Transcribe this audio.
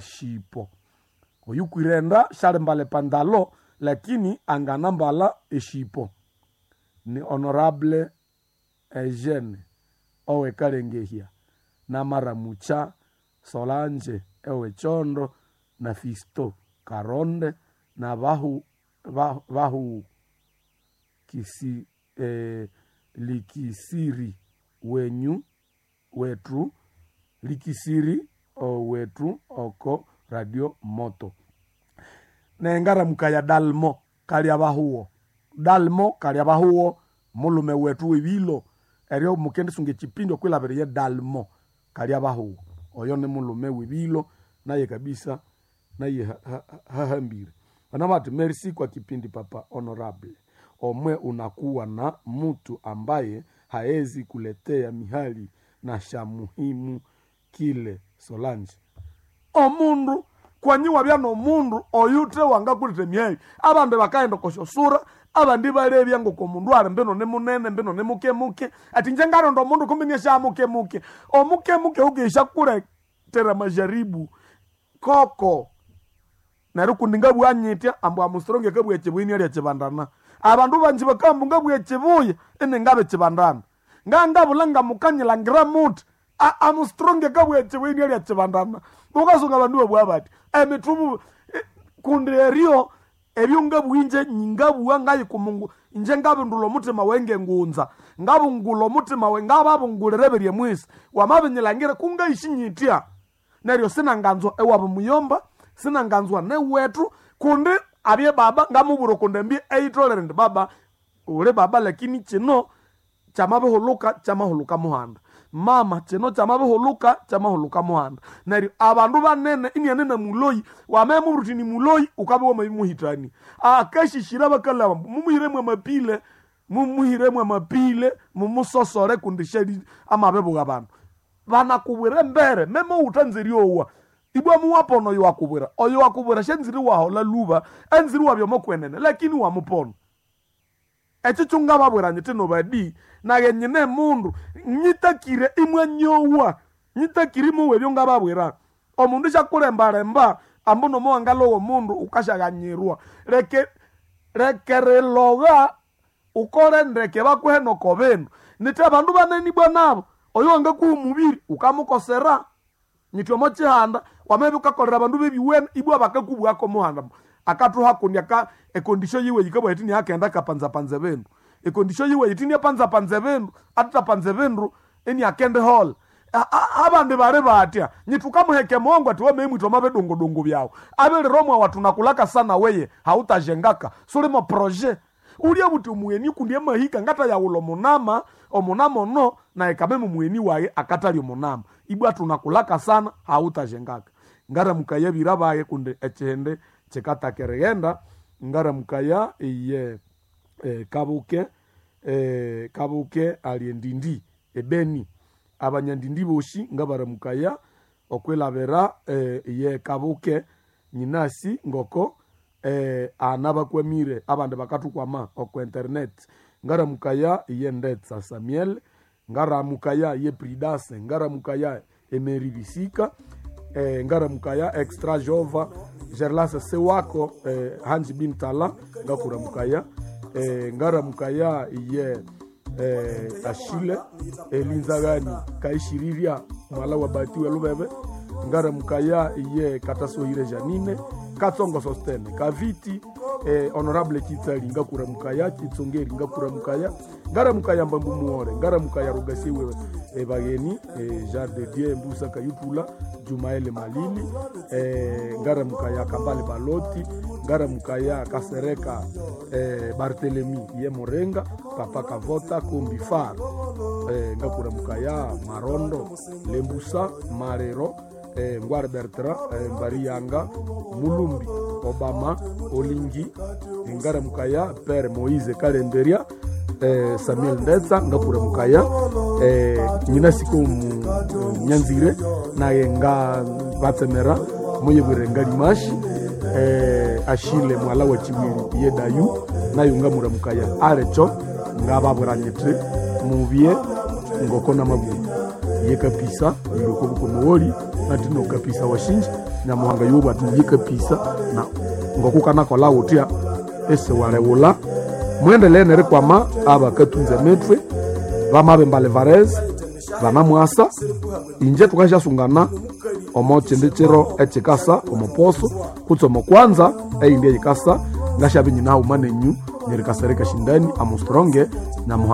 Shipo oyukwirenda syalimbala epandalo lakini anganambala eshipo. Ni Honorable Eugene owekalengehya namaramukya Solange owekyondo na Fisto Karonde na bahu, bahu kisi, likisiri wenyu wetu likisiri owetu oko Radio Moto. Nengaramukaya Dalmo kalya bahuo, Dalmo kalya bahuo mulume wetu webilo eryo mukendisunga echipindi okwilabiriye Dalmo kalya bahuo oyo ni mulume webilo naye kabisa naye hahambire anamati merci kwa kipindi papa honorable omwe unakuwa na mtu ambaye haezi kuletea mihali na sha muhimu kile Solange omundu kwanyiwa bya nomundu oyuthe wangakuleta emihali abandu bakaghenda okosyosura abandi balebya ngoko omundu ali mbino ni munene mbino ni mukemuke ati inje ngaronda omundu kumbe niasha mukemuke omukemuke ukeishakuletera majaribu koko neryo kundi ngabugha nyitya ambu amusironge akabugha ekibuya inialya kibandana abandu banji bakamba ngabugha ekibuya iningabe kibandana ngangabulha ngamukanyilangira muthi amusironge akabugha ekibuya inialya kibandana ukasunga abandu babugha bati emithubu kundi eryo ebyo ngabugha inje nyingabugha ngayikumungu inje ngabindulha omuthima wayi ngengunza ngabungulha omuthima wayi ngababungulira ebirya emwisi wamabinyilangira kungayixinyitya neryo sinanganzwa ewabo muyomba sinanganzwa newethu kundi abye baba ngamubwira okundi embi eyitholere indi baba uli baba lakini kino kyamabihuluka kyamahuluka muhanda mama kino kyamabihuluka kyamahuluka muhanda neryo abandu banene iniane na muloyi wamamubwira uthi ni muloyi ukabya wamabimuhitania akashishira bakalhaba mumuhiremu amapile mumuhiremu amapile mumusosore kundi shali amabibuka abandu banakubwira embere meme wuthanzire owa ibwa muwapona oyo wakubwira oyo wakubwira shanzire wahola luba anzire wabya mokwenene lakini wamupona ekyo kyungababwira nyiti nobadi naye nyine mundu nyitakire imwanyowa nyitakire imuwa ebyo ngababwira omundu syakulembalemba ambu nomuwangalowa omundu ukasyaghanyirwa leke lekeriloga ukole ndeke bakuhe noko bindu niti abandu banene ibwa nabo oyo wangakuha omubiri ukamukosera nyiti omo kihanda wamabya wukakolera abandu bebiwene ibwa bakakubwako muhanda akathuha kundi aka ekondisho yiwe yikabugha yiti niakaghenda akapanzapanza ebindu ekondisho yiwe yiti niapanzapanza ebindu athathapanza ebindu iniakendiholha abandi bali batya nyiti wukamuheka emuhongo ati wamemwitha omwa bidungudungu byawu abilira omwawu ati unakulaka sana weye hautajengaka sulimo proje ulya buti omugheni kundi amahika ngatayawulha omunama omunama ono naye kameme omugheni wayi akatalya omunama ibwa tunakulaka sana hautajengaka ngaramukaya ebira baye kundi ekihindi kikataka erighenda ngaramukaya iye kabuke kabuke ali endindi ebeni abanyandindi bosi ngabaramukaya okwilabira iye kabuke nyinasi ngoko ana bakwamire abandi bakathukwama oko internet ngaramukaya iye ndetsa Samuel ngaramukaya iye Pridase ngaramukaya Emery Bisika ngaramukaya Extra Jova Gerlase Sewako Hanji bin Tala ngakuramukaya ngaramukaya iye Ashile Elinzagani kaishirirya mwala wa bati we lubebe ngaramukaya iye Katasohire Janine Katsongo Sostene Kaviti Honorable Kitsali ngakuramukaya Kitsongeri ngakuramukaya ngaramukaya Mbambu Muore ngaramukaya Rugasiwe bageni Jean de Dieu Mbusa Kayutula Jumaele Malili ngaramukaya Kambale Baloti ngaramukaya Kasereka Barthelemy ye Morenga Papa Kavota Kombi Far ngakuramukaya Marondo Lembusa Marero Ngware Bertrand Mbariyanga Mulumbi Obama Olingi ngaramukaya Père Moise Kalemberia Samuel Ndetsa ngakuramukaya nyinasiko nyanzire naye nga batsemera muyebwire ngalimashi Ashile mwala wa chiwili ye dayu nayo ngamuramukaya alecho ngababwira nyiti mubye ngoko namabwire ye kapisa iloko bukomuwoli natino kapisa washinji. Nyamuhanga yobo atuye kapisa na ngokukanakola utya esiwalewula. Mwendelee nerikwama abakatunza emitwe bamabemba Levarez vanamwasa inje tukasyasungana omo kindi kiro ekikasa omuposo kutse omo kwanza eyindi eyikasa ngasyabe nyina haghuma nenyu nyerikasereka shindani amustronge Nyamuhanga.